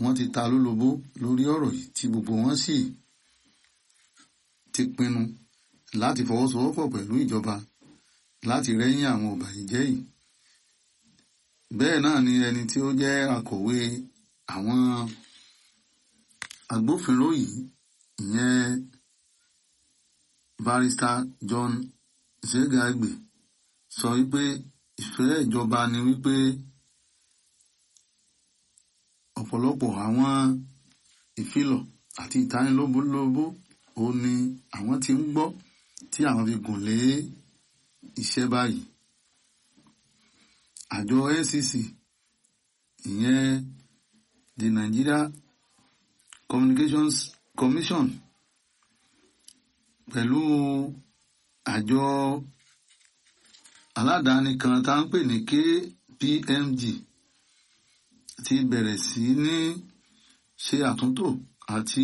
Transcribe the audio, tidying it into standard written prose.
wọ́n ti ta lólobó lórí ọ̀rọ̀ yìí tí gbogbo wọn sì ti pinnu láti fọwọ́sowọ́pọ̀ pẹ̀lú ìjọba láti rẹ́yìn àwọn ọ̀bàyéjẹ́ yìí. Bẹ́ẹ̀ náà ni ẹni tí ó jẹ́ akọ̀wé àwọn agbófinró yìí, ìyẹn Barrister John Zegagbe, sọ wípé ìfẹ́ ìjọba ni wípé ọ̀pọ̀lọpọ̀ àwọn ìfilọ̀ àti ìtanilólobó ó ní àwọn tí ń gbọ́ tí àwọn fi gùn lé iṣẹ́ báyìí. Àjọ NCC, ìyẹn the Nigeria Communications Commission, pẹ̀lú àjọ aládàáni kan tá ń pè ní KPMG, ti bẹ̀rẹ̀ sí ní ṣe àtúntò àti